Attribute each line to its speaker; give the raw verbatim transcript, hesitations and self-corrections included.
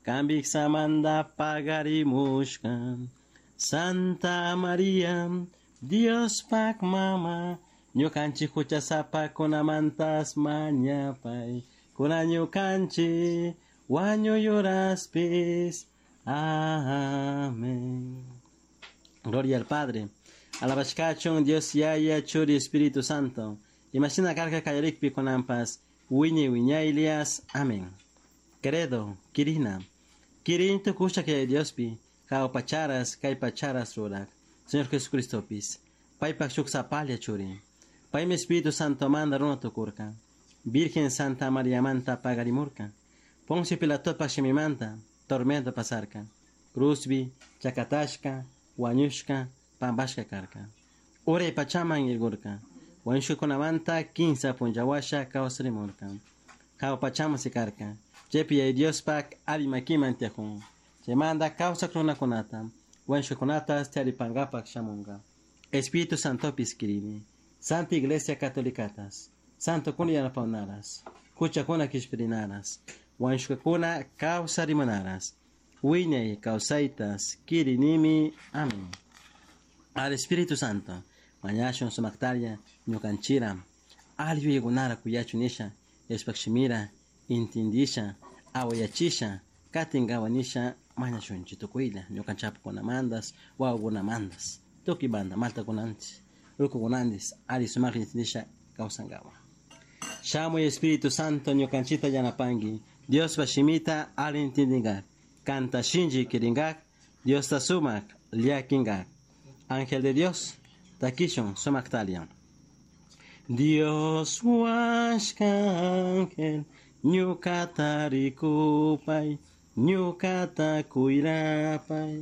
Speaker 1: Cambik samanda pagarimushka. Santa Maria, Diospak mama, ñukanchik huchasapakunamantas mañapay. Kuna ñukanchik wañuyuraspis. Amén. Gloria al Padre. Alabashkachun Dios Yaya Churi Espíritu Santo. Imashina karka kallarikpi kunanpas wiñay wiñaylias. Amén. Credo, Kirina. Kirin tukusha kay Diospi, pacharas, kay pacharas rurak. Señor Jesucristopis. Paypak shuk sapalla churi. Paymi Espíritu Santo manda runa tukurka. Virgen Santa María manta pagarimurka. Poncio Pilatopak shimimanta, tormento pasarka. Cruzbi, chakatashka, wañushka, pampashka karka. Uray pachaman irgurka. Wañushkakunamanta kinsa punllawasha kawsarimurka. Hawa pachaman sikarka. Chaypi Yaya Diospak alli makiman tiyakun. Chaymanta kawsak runakunata, wañushkakunata tiyaripankapak shamunka. Espíritu Santopis kirini. Santa Iglesia Catolicatas. Santokuna yanapawnaras. Huchakuna kishpirinaras. Wañushkakuna kawsarimunaras. Wiñay kawsaytas kirinimi. Amén. Al Espíritu Santo. Mañashun sumaktalla ñukanchira. Alli yuyaykunara kuyachun nisha. Dioshpak shimira intindisha awayachisha katinkawa nisha mañashunchik tukuylla ñukanchikpakunamantas wawakunamantas tukuy banda maltakunanchik rukukunanchik alli sumakta intindisha kawsankawa. Shamuy Espíritu Santo ñukanchikta yanapanki Diospa shimita alli intindinkak kanta shinchi kirinkak Diosta sumak llakinkak. Ángel de Dios, takishun sumaktalia. Dios huashka ángel, ñukata rikupay, ñukata kuyrapay.